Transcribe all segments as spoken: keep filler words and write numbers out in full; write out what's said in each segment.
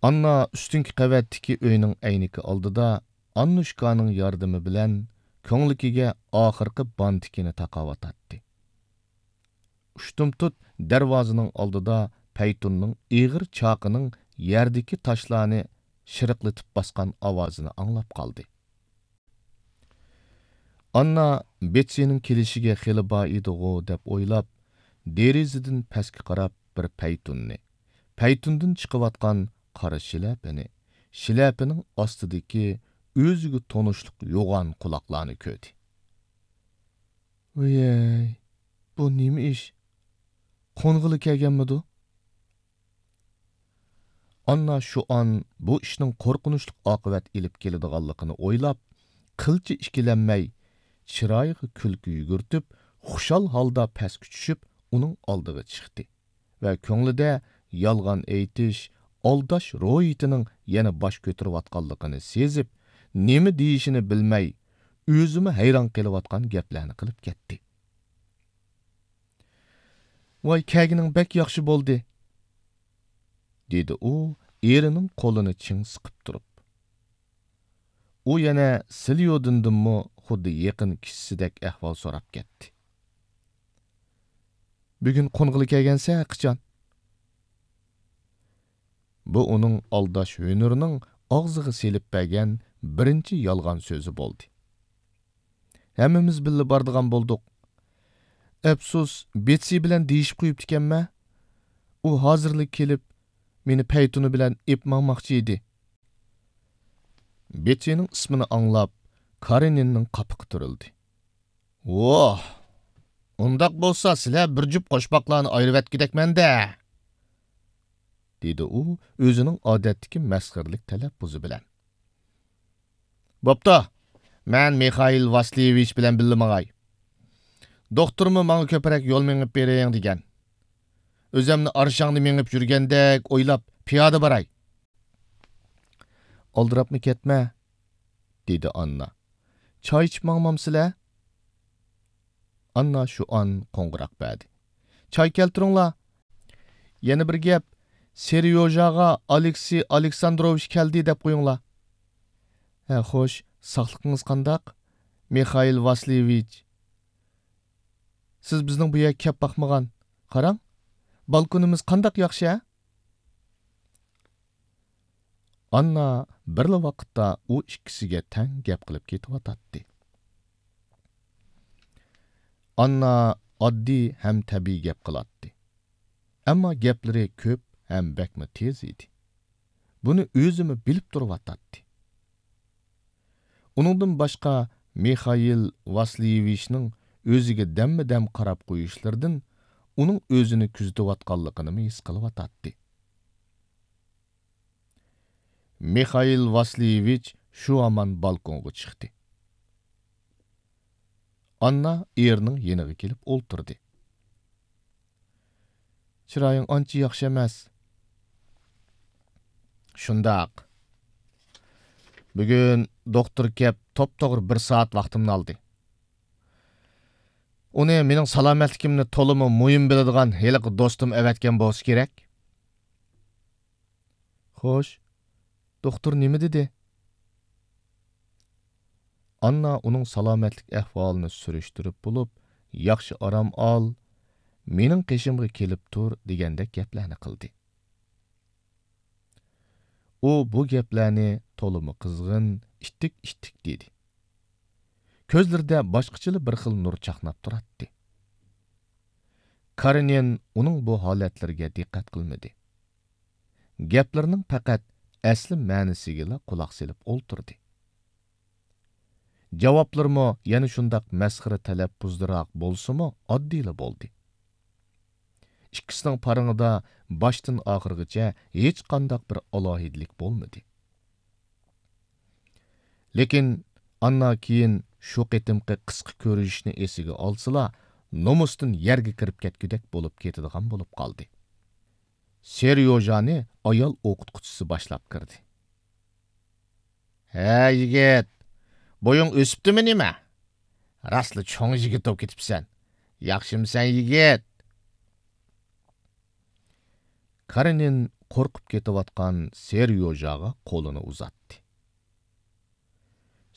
ئاننا ئۈستۈنكى قەۋەتتىكى ئۆينىڭ ئەينىكى ئالدىدا ئاننۇشكانىڭ ياردىمى بىلەن كۆڭلىكىگە ئاخىرقى بانتىكىنى تاقاۋاتاتتى. ئۇشتۇمتۇت دەرۋازىنىڭ ئالدىدا پەيتۇننىڭ ئېغىر چاقىنىڭ يەردىكى تاشلارنى شىرىقلىتىپ باسقان ئاۋازىنى ئاڭلاپ قالدى. ئاننا بېتسىنىڭ كېلىشىگە خېلى بار ئىدىغۇ دەپ ئويلاپ، دېرىزىدىن پەسكە قاراپ بىر پەيتۇننى، پەيتۇندىن چىقىۋاتقان قارا شىلەپىنى، شىلەپىنىڭ ئاستىدىكى ئۆزىگە تونۇشلۇق يوغان قۇلاقلارنى كۆردى. ۋىيەي، بۇ نېمە ئىش؟ قونغىلى كەلگەنمىدۇ؟ ئاننا شۇئان بۇ ئىشنىڭ قورقۇنچلۇق ئاقىۋەت ئېلىپ كېلىدىغانلىقىنى ئويلاپ، قىلچە ئىككىلەنمەي، چىرايىغا كۈلكە يۈگۈرتۈپ، خۇشال ھالدا پەسكە چۈشۈپ، ئۇنىڭ ئالدىغا چىقتى ۋە كۆڭلىدە يالغان ئېيتىش، ئالداش روھىيىتىنىڭ يەنە باش كۆتۈرۈۋاتقانلىقىنى سېزىپ، نېمە دېيىشىنى بىلمەي، ئۆزىمۇ ھەيران قېلىۋاتقان گەپلەرنى قىلىپ كەتتى. ۋاي، كەلگىنىڭ بەك ياخشى بولدى، دېدى ئۇ ئېرىنىڭ قولىنى چىڭ سىقىپ تۇرۇپ. ئۇ يەنە سىليودىندىنمۇ خۇددى يېقىن كىشىسىدەك ئەھۋال سوراپ كەتتى. بۈگۈن قونغىلى كەلگەنسە قاچان؟ بۇ ئۇنىڭ ئالداش ھۈنىرىنىڭ ئاغزىغا سېلىپ بەرگەن بىرىنچى يالغان سۆزى بولدى. ھەممىمىز بىللە بارىدىغان بولدۇق. ئەپسۇس، بېتسى بىلەن دېيىشىپ قويۇپتىكەنمەن. ئۇ ھازىرلا كېلىپ، مېنى پەيتۇنى بىلەن ئېپ ماڭماقچى ئىدى. بېتسىنىڭ ئىسمىنى ئاڭلاپ، كارېنىننىڭ قاپىقى تۈرۈلدى. ۋوھ! ئۇنداق بولسا، سىلەر بىر جۈپ قوشماقلارنى ئايرىۋەتكۈدەكمەن-دە! دېدى ئۇ ئۆزىنىڭ ئادەتتىكى مەسخىرىلىك تەلەپپۇزى بىلەن. بوپتۇ، مەن مىخائىل ۋاسليېۋىچ بىلەن بىللە ماڭاي. دوختۇرمۇ ماڭا كۆپرەك يول مېڭىپ بېرىڭ دېگەن. ئۆزەمنى ئارشاڭدا مېڭىپ يۈرگەندەك ئويلاپ، پىيادە باراي. ئالدىراپمۇ كەتمە، دېدى ئاننا. چاي ئىچىپ ماڭمامسىلەر؟ ئاننا شۇئان قوڭغۇراق بەردى. چاي كەلتۈرۈڭلار. يەنە بىر گەپ، سېريوژاغا ئالېكسىي ئالېكساندروۋىچ كەلدى دەپ قويۇڭلار. ھە، خوش، ساقلىقىڭىز قانداق، مىخائىل ۋاسليېۋىچ؟ سىز بىزنىڭ بۇ يەرگە كەپ باقمىغان. قاراڭ، بالكونىمىز قانداق ياخشى، ھە؟ ئاننا بىرلا ۋاقىتتا ئۇ ئىككىسىگە تەڭ گەپ قىلىپ كېتىۋاتاتتى. ئاننا ئاددىي ھەم تەبىئىي گەپ قىلاتتى. ئەمما گەپلىرى كۆپ ھەم بەكمۇ تېز ئىدى. بۇنى ئۆزىمۇ بىلىپ تۇرۇۋاتاتتى. ئۇنىڭدىن باشقا، مىخائىل ۋاسليېۋىچنىڭ ئۆزىگە دەممۇ دەم قاراپ قويۇشلىرىدىن ئۇنىڭ ئۆزىنى كۆزىتىۋاتقانلىقىنىمۇ ھېس قىلىۋاتاتتى. مىخائىل ۋاسليېۋىچ شۇ ھامان بالكونغا چىقتى. ئاننا ئېرىنىڭ يېنىغا كېلىپ ئولتۇردى. چىرايىڭ ئانچە ياخشى ئەمەس. شۇنداق. بۈگۈن دوختۇر كەپ توپتوغرا بىر سائەت ۋاقتىمنى ئالدى. ئۇنى مېنىڭ سالامەتلىكىمنى تولىمۇ مۇھىم بىلىدىغان ھېلىقى دوستۇم ئەۋەتكەن بولسا كېرەك. خوش، دوختۇر نېمە دېدى؟ ئاننا ئۇنىڭ سالامەتلىك ئەھۋالىنى سۈرۈشتۈرۈپ بولۇپ، ياخشى ئارام ئال، مېنىڭ قېشىمغا كېلىپ تۇر دېگەندەك گەپلەرنى قىلدى. ئۇ بۇ گەپلەرنى تولىمۇ قىزغىن، ئىتتىك-ئىتتىك دېدى. كۆزلىرىدە باشقىچىلا بىر خىل نۇر چاقناپ تۇراتتى. كارېنىن ئۇنىڭ بۇ ھالەتلىرىگە دىققەت قىلمىدى. گەپلىرىنىڭ پەقەت ئەسلى مەنىسىگىلا قۇلاق سېلىپ ئولتۇردى. جاۋابلىرىمۇ يەنە شۇنداق مەسخىرە تەلەپپۇزلىراق بولسىمۇ، ئاددىيلا بولدى. ئىككىسىنىڭ پارىڭىدا باشتىن ئاخىرغىچە ھېچقانداق بىر ئالاھىدىلىك بولمىدى. لېكىن ئاننا كېيىن شۇ قېتىمقى قىسقا كۆرۈشۈشنى ئېسىگە ئالسىلا، نومۇستىن يەرگە كىرىپ كەتكۈدەك بولۇپ كېتىدىغان بولۇپ قالدى. سېريوژانى ئايال ئوقۇتقۇچىسى باشلاپ كىردى. ھە، يىگىت، بويۇڭ ئۆسۈپتىمۇ نېمە؟ راستلا چوڭ يىگىت بولۇپ كېتىپسەن. ياخشىمۇسەن، يىگىت؟ كارېنىن قورقۇپ كېتىۋاتقان سېريوژاغا قولىنى ئۇزاتتى.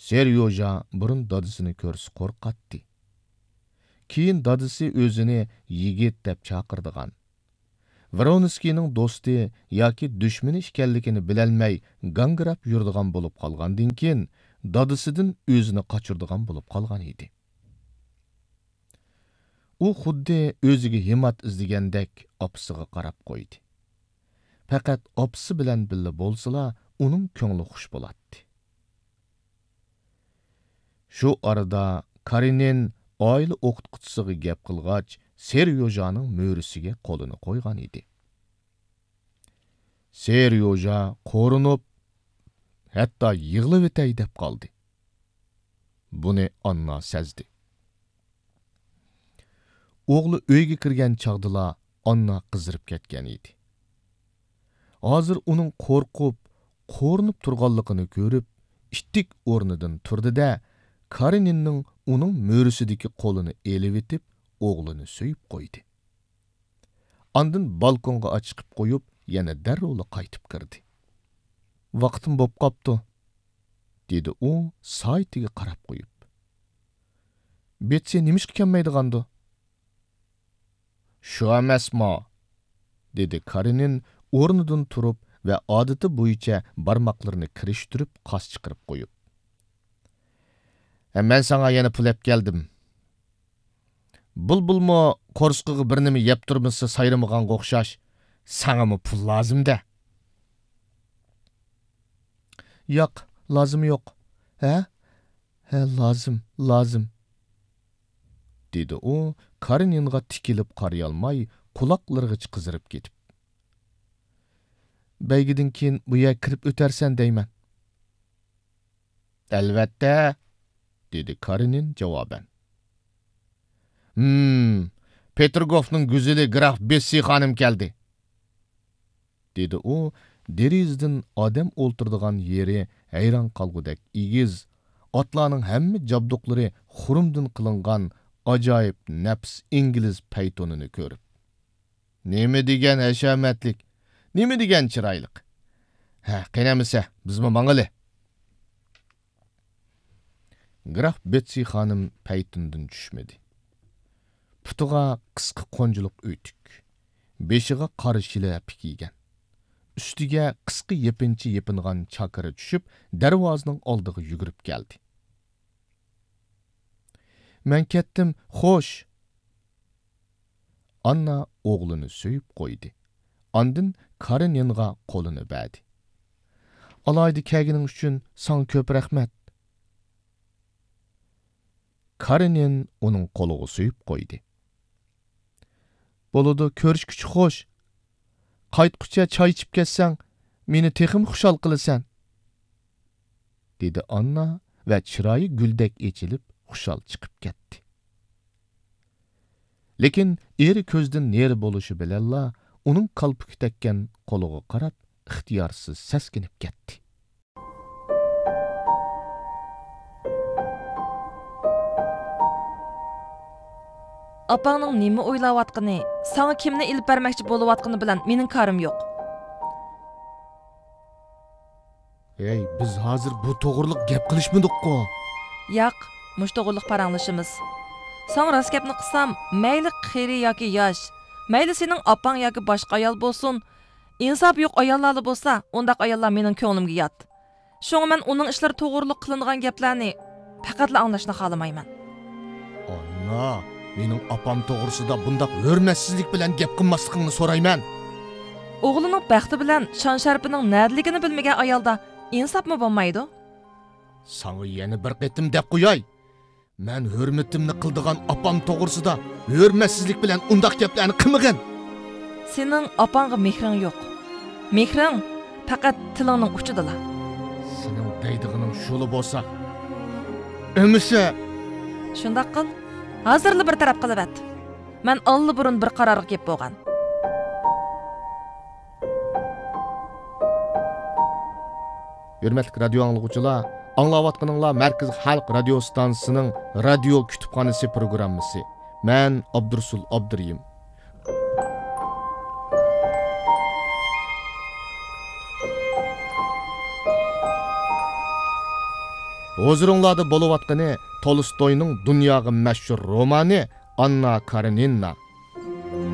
سېريوژا بۇرۇن دادىسىنى كۆرسە قورقاتتى. كېيىن دادىسى ئۆزىنى يىگىت دەپ چاقىرىدىغان، ۋرونسكىينىڭ دوستى ياكى دۈشمىنى ئىكەنلىكىنى بىلەلمەي گاڭگىراپ يۈرىدىغان بولۇپ قالغاندىن كېيىن، دادىسىدىن ئۆزىنى قاچۇرىدىغان بولۇپ قالغان ئىدى. ئۇ خۇددى ئۆزىگە ھىمات ئىزدىگەندەك ئاپىسىغا قاراپ قويدى. پەقەت ئاپىسى بىلەن بىللە بولسىلا، ئۇنىڭ كۆڭلى خۇش بولاتتى. شۇ ئارىدا كارېنىن ئائىلە ئوقۇتقۇچىسىغا گەپ قىلغاچ، سېريوژانىڭ مۈرىسىگە قولىنى قويغان ئىدى. سېريوژا قورۇنۇپ، ھەتتا يىغلىۋېتەي دەپ قالدى. بۇنى ئاننا سەزدى. ئوغلى ئۆيگە كىرگەن چاغدىلا ئاننا قىزىرىپ كەتكەن ئىدى. ھازىر ئۇنىڭ قورقۇپ، قورۇنۇپ تۇرغانلىقىنى كۆرۈپ، ئىتتىك ئورنىدىن تۇردى-دە، كارېنىننىڭ ئۇنىڭ مۈرىسىدىكى قولىنى ئېلىۋېتىپ، ئوغلىنى سۆيۈپ قويدى. ئاندىن بالكونغا ئاچىقىپ قويۇپ، يەنە دەررۇلا قايتىپ كىردى. «ۋاقتىم بوپ قاپتۇ»، دېدى ئۇ سائىتىگە قاراپ قويۇپ. «بېتسى نېمىشقا كەلمەيدىغاندۇ؟» «شۇ ئەمەسمۇ؟» دېدى كارېنىن ئورنىدىن تۇرۇپ ۋە ئادىتى بويىچە بارماقلىرىنى كىرىشتۈرۈپ قاس چىقىرىپ قويۇپ. «ھە، مەن ساڭا يەنە پۇل ئەپ كەلدىم. بۇلبۇلمۇ قورسىقىغا بىر نېمە يەپ تۇرمىسا سايرىمىغانغا ئوخشاش، ساڭىمۇ پۇل لازىم-دە.» «ياق، لازىم يوق.» «ھە؟ ھە، لازىم، لازىم.» دېدى ئۇ كارېنىنغا تىكىلىپ قارىيالماي، قۇلاقلىرىغىچە قىزىرىپ كېتىپ. «بەيگىدىن كېيىن بۇ يەرگە كىرىپ ئۆتەرسەن دەيمەن.» «ئەلۋەتتە،» دېدى كارېنىن جاۋابەن. «ھىم، پېتىرگوفنىڭ گۈزىلى گراف بېتسى خانىم كەلدى.» دېدى ئۇ، دېرىزىدىن ئادەم ئولتۇرىدىغان يېرى ھەيران قالغۇدەك ئېگىز، ئاتلارنىڭ ھەممە جابدۇقلىرى خۇرۇمدىن قىلىنغان ئاجايىپ نەپىس ئىنگلىز پەيتۇنىنى كۆرۈپ. «نېمە دېگەن ھەشەمەتلىك، نېمە دېگەن چىرايلىق. ھە، قېنى ئەمىسە، بىزمۇ ماڭىلى.» گراف بېتسى خانىم پەيتۇندىن چۈشمىدى. پۇتىغا قىسقا قونجىلىق ئۆتۈك، بېشىغا قارا شىلەپە كىيگەن. ئۈستىگە قىسقا يېپىنچا يېپىنغان چاكىرا چۈشۈپ، دەرۋازىنىڭ ئالدىغا يۈگۈرۈپ كەلدى. «مەن كەتتىم، خوش.» ئاننا ئوغلىنى سۆيۈپ قويدى. ئاندىن كارېنىنغا قولىنى بەردى. «ئالاھىدە كەلگىنىڭ ئۈچۈن ساڭا كۆپ رەھمەت.» كارېنىن ئۇنىڭ قولىغا سۆيۈپ قويدى. «بولىدۇ، كۆرۈشكۈچە خوش. قايتقۇچە چاي ئىچىپ كەتسەڭ، مېنى تېخىمۇ خۇشال قىلىسەن.» دېدى ئاننا ۋە چىرايى گۈلدەك ئېچىلىپ، خۇشال چىقىپ كەتتى. لېكىن ئېرى كۆزدىن نېرى بولۇشى بىلەنلا، ئۇنىڭ كالپۇك تەگكەن قولىغا قاراپ، ئىختىيارسىز سەسكىنىپ كەتتى. ئاپاڭنىڭ نېمە ئويلاۋاتقىنى، ساڭا كىمنى ئېلىپ بەرمەكچى بولۇۋاتقىنى بىلەن مېنىڭ كارىم يوق. ھەي، بىز ھازىر بۇ توغرىلىق گەپ قىلىشمىدۇققۇ؟ ياق، مۇشۇ توغرىلىق پاراڭلىشىمىز. ساڭا راست گەپنى قىلسام، مەيلى قېرى ياكى ياش، مەيلى سېنىڭ ئاپاڭ ياكى باشقا ئايال بولسۇن، ئىنساپى يوق ئاياللارلا بولسا، ئۇنداق ئاياللار مېنىڭ كۆڭلۈمگە يات. شۇڭا مەن ئۇنىڭ ئىشلىرى توغرىلىق قىلىنىدىغان گەپلەرنى پەقەتلا ئاڭلاشنى خالىمايمەن. ئاننا، مېنىڭ ئاپام توغرىسىدا بۇنداق ھۆرمەتسىزلىك بىلەن گەپ قىلماسلىقىڭنى سورايمەن. ئوغلىنىڭ بەختى بىلەن شان-شەرىپىنىڭ نەدىلىكىنى بىلمىگەن ئايالدا ئىنساپمۇ بولمايدۇ. ساڭا يەنە بىر قېتىم دەپ قوياي. مەن ھۆرمىتىمنى قىلىدىغان ئاپام توغرىسىدا ھۆرمەتسىزلىك بىلەن ئۇنداق گەپلەرنى قىلمىغىن. سېنىڭ ئاپاڭغا مېھرىڭ يوق. مېھرىڭ پەقەت تىلىڭنىڭ ئۇچىدىلا. سېنىڭ دەيدىغىنىڭ شۇلا بولسا، ئەمىسە. شۇنداق قىل، ھازىرلا بىر تەرەپ قىلىۋەت. مەن ئاللىبۇرۇن بىر قارارغا كېلىپ بولغان. ھۆرمەتلىك رادىيو ئاڭلىغۇچىلار، ئاڭلاۋاتقىنىڭلار مەركىزىي خەلق رادىيو ئىستانسىسىنىڭ رادىيو كۇتۇپخانىسى پروگراممىسى. مەن ئابدۇرۇسۇل ئابدۇرېھىم. ھۇزۇرۇڭلاردا بولۇۋاتقىنى تولستوينىڭ دۇنياغا مەشھۇر رومانى ئاننا كارېنىنا.